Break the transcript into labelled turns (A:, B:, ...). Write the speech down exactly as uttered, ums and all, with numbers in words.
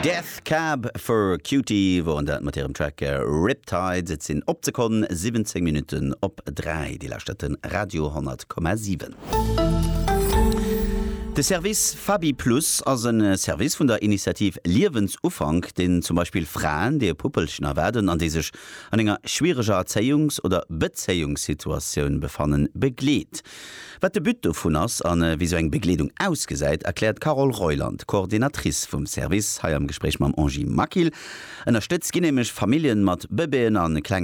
A: Death Cab for Cutie woren dat mat hirem Track äh, Riptides. Et sinn op d'Sekonn siwwenzéng Minutten op dräi. Dir lauschtert de Radio honnert Komma siwen. De Service Fabi Plus ass e Service vun der Initiativ Liewensufank, deen zum Beispill Fraen, déi e Puppelchen erwaarden an déi sech an enger schwiereger Erzéiungs- oder Bezéiungssituatioun befannen, begleet. Wat de But dovun ass an äh, wéi sou eng Begleedung ausgesäit, erkläert d'Carole Reuland, Coordinatrice vum Service, hei am Gespréich mam Angie Maquil. Ënnerstëtzt ginn nämlech Familljen mat Bëbeeën an klenge